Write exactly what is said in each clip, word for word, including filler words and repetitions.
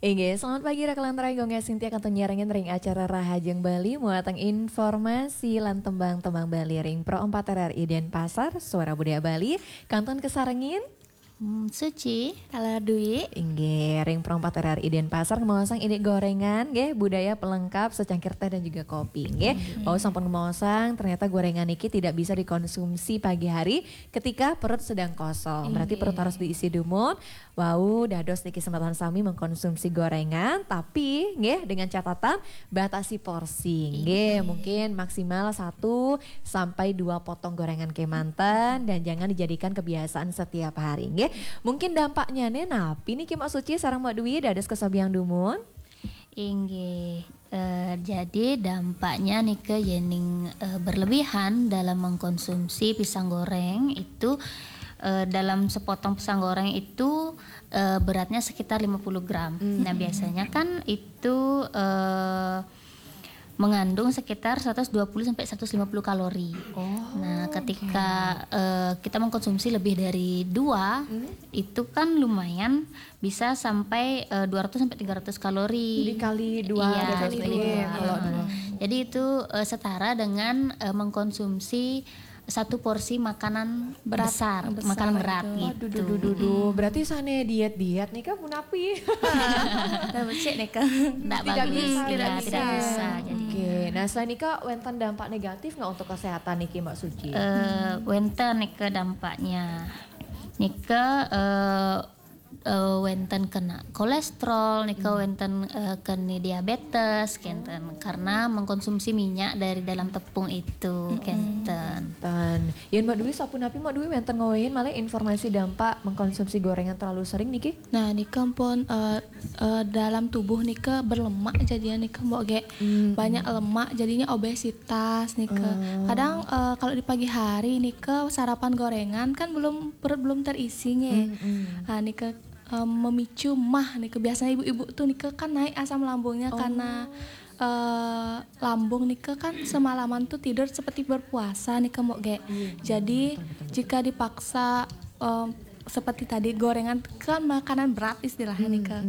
Inggih, selamat pagi rekan lantaran Gongnya Sintia kantun nyarengin ring acara Rahajeng Bali muateng informasi lan tembang-tembang Bali ring Pro empat R R I Denpasar, Suara Budaya Bali, kantun kasarengin. Hmm, Suci. Taler Dwi. Inggih, ring Pro empat R R I Denpasar ngemaosang indik gorengan, nggih, budaya pelengkap secangkir teh dan juga kopi, nggih. Wau sampun ngemaosang, ternyata gorengan niki tidak bisa dikonsumsi pagi hari ketika perut sedang kosong. Berarti perut harus diisi dumun. Wau, dados niki semeton sami mengkonsumsi gorengan, tapi nggih dengan catatan batasi porsi. Nggih, mungkin maksimal satu sampai dua potong gorengan kemanten dan jangan dijadikan kebiasaan setiap hari. Nggih, mungkin dampaknya nih napi niki Mbok Suci sareng Mbok Dwi dados kesobiang dumun? Inggih. Eh, jadi dampaknya nih ke yening eh, berlebihan dalam mengkonsumsi pisang goreng itu, eh, dalam sepotong pisang goreng itu eh, beratnya sekitar lima puluh gram. Nah, biasanya kan itu eh, mengandung sekitar seratus dua puluh sampai seratus lima puluh kalori. Nah, ketika eh, kita mengkonsumsi lebih dari dua, itu kan lumayan bisa sampai eh, dua ratus sampai tiga ratus kalori. Dikali dua. Iya, dikali dua. Kalau dua. Jadi itu eh, setara dengan eh, mengkonsumsi satu porsi makanan besar, makanan berat gitu. Waduh, duh, duh, duh, duh. Berarti sane diet-diet nih kan punapi. Nah, becik nih kan. Tidak bagus, bisa, tidak, tidak bisa. Jadi. Oke, nah selain itu wenten dampak negatif nggak untuk kesehatan niki Mbak Suci? Eh, wenten nih ke dampaknya. Nika eh, eh, wenten kena kolesterol, nika wenten eh, kena diabetes, kenten karena mengkonsumsi minyak dari dalam tepung itu, kenten. Ten. Yen Mbak Dwi sapunapi Mbak Dwi wenten ngawehin malah informasi dampak mengkonsumsi gorengan terlalu sering niki? Nah, nika pun eh, eh, dalam tubuh nika berlemak jadinya nika Mbok ge. Banyak lemak jadinya obesitas nika. Kadang eh, kalau di pagi hari nika sarapan gorengan kan belum, perut belum terisi nge. Nah, nika eh, memicu mah nika. Biasanya ibu-ibu tuh nika kan naik asam lambungnya karena eh, lambung nika kan semalaman tuh tidur seperti berpuasa nika Mbok ge. Jadi jika dipaksa eh, seperti tadi gorengan kan makanan berat istilahnya nika.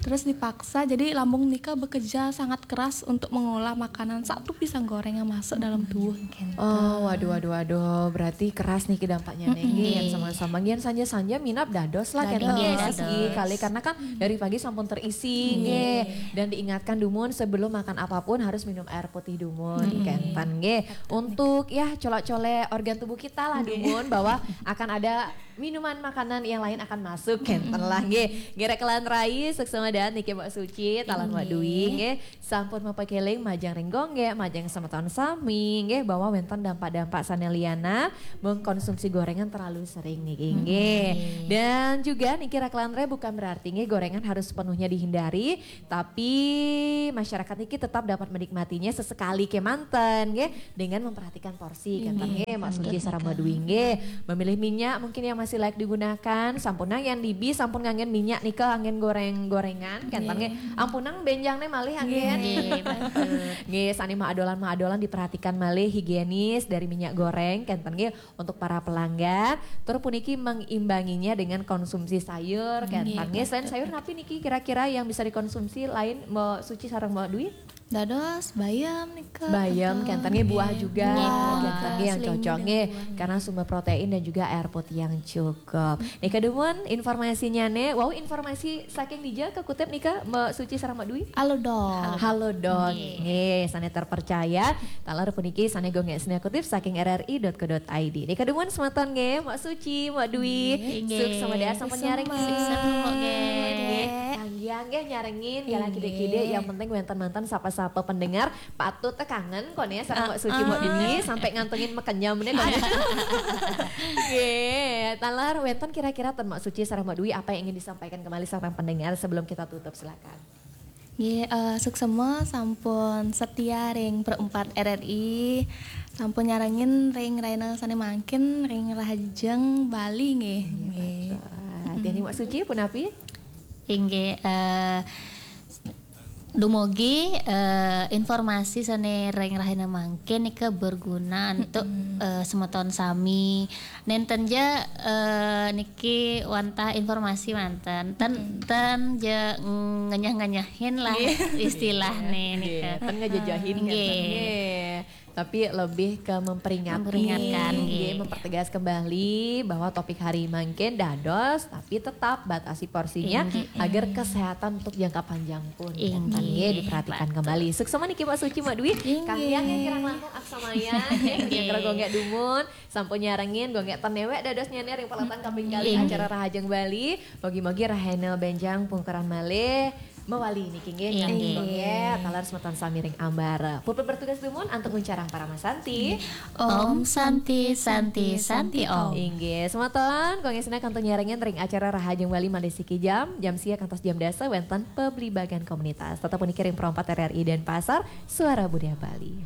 Terus dipaksa jadi lambung nika bekerja sangat keras untuk mengolah makanan satu pisang goreng yang masuk dalam tubuh. Oh, waduh, waduh, waduh. Berarti keras nih dampaknya nih. Nggih, yang sama-sama. Nggih, sanja-sanja minap dados lah, kenten. Dados. Nggih, sih, kali karena kan dari pagi sampun terisi, nggih. Dan diingatkan dumun sebelum makan apapun harus minum air putih dumun, kenten, nggih. Untuk ya colek-colek organ tubuh kita lah dumun bahwa akan ada minuman makanan yang lain akan masuk, kenten lah, nggih. Nggih rekan lantaran, suksma daan niki Mbok Suci, taler Mbok Dwi, nggih. Sampun mapakeling majeng ring Gongnya, majeng semeton sami, nggih, bahwa wenten dampak-dampak sane liana mengkonsumsi gorengan terlalu sering niki, nggih. Dan juga niki rekan lantaran bukan berarti nggih gorengan harus sepenuhnya dihindari, tapi masyarakat niki tetap dapat menikmatinya sesekali kemanten, nggih, dengan memperhatikan porsi, kenten nggih, Mbok Suci sareng Mbok Dwi nggih. Memilih minyak mungkin yang masih layak digunakan, sampunang yen dibi sampun nganggen minyak nika anggen goreng-gorengan, kenten nggih. Ampunang benjangne malih anggen. Nggih, sane maadolan-maadolan diperhatikan malih higienis dari minyak goreng, kenten nggih untuk para pelanggan. Tur puniki mengimbanginya dengan konsumsi sayur, kenten nggih. Selain sayur napi niki kira-kira yang bisa dikonsumsi lain Mbok Suci sareng Mbok Dwi? Dados bayam nika. Bayam, kenten nggih buah juga, kenten nggih yang cocok nggih karena sumber protein dan juga air putih yang cukup. Nika dumun informasinya nih, wow informasi saking dija kekutip nika Mbok Suci sareng Mbok Dwi? Halodoc. Halodoc nggih, sane terpercaya. Taler puniki sane Gongnya sane kutip saking R R I dot co dot I D. Nika dumun semeton nggih, Mbok Suci, Mbok Dwi. Suksma daan sampun nyarengin. Suksma nggih. Kanggiang nggih nyarengin, ya lagi dikide yang penting wenten-wenten sapa-sapa pendengar patut kangen kone sareng Mbok Suci Mbok Dwi sampai ngantongin mekenyam nih kone. Nggih, taler wenten kira-kira ten Mbok Suci sareng Mbok Dwi apa yang ingin disampaikan kembali sareng pendengar sebelum kita tutup, silakan. Nggih, eh, suksma sampun setia ring Pro empat R R I, sampun nyarengin ring rahina sane mangkin ring Rahajeng Bali nggih. Nggih. Dene Mbok Suci punapi? Inggih, eh, Dumugi eh, informasi sané ring rahina mangkin nika berguna untuk eh, semeton sami. Nénten ja eh, niki wantah informasi manten. Ten ten ja ngenyah-ngenyahin lah istilah nih nika. Ten ngejejehin kan. Nggih. Nggih. Tapi lebih ke memperingati, Memperingatkan, nggih, nggih. Mempertegas kembali bahwa topik hari mangkin dados, tapi tetap batasi porsinya Inggih. Agar kesehatan untuk jangka panjang pun. Inggih, Nggih, diperhatikan kembali. Suksma niki Mbak Suci, Mbak Dwi. Kang Diah nggih kirang langkung aksamaya, nggih, kira-kira gonggek dumun, sampun nyarengin gonggek ten néwék dados nyanyi ring peletan kaping kali acara Rahajeng Bali. Mogi-mogi rahina bénjang pungkuran malih mawali niki nggih. Inggih. Gonggek taler semeton sami ring ambara. Puput bertugas dumun antuk nguncarang parama santi. Om Santi Santi Santi Om. Inggih, semeton, kangge sinah kantun nyarengin ring acara Rahajeng Bali malih siki jam, jam sia kantos jam dasa wénten pablibagan komunitas. Tetep puniki ring Pro empat R R I Denpasar, Suara Budaya Bali.